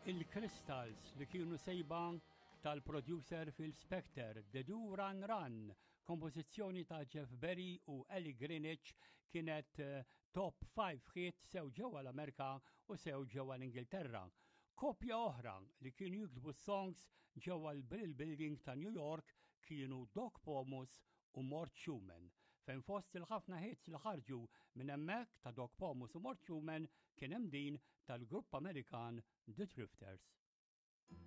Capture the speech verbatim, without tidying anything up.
Il-Crystals li kienu sejba tal-producer Phil Spector, The Do Run Run, kompożizzjoni ta' Jeff Berry u Ellie Greenwich kienet eh, top five hit sew ġewwa l-Amerika u sew ġewwa l-Ingilterra. Kopja oħra li kienu jiktbu songs ġewwa l-Brill Building ta' New York kienu Doc Pomus u Mort Shuman. Fejn fost il-ħafna hits li ħarġu minn hemmhekk ta' Doc Pomus u Mort Shuman kien hemm din tal-grupp Amerikan The Drifters.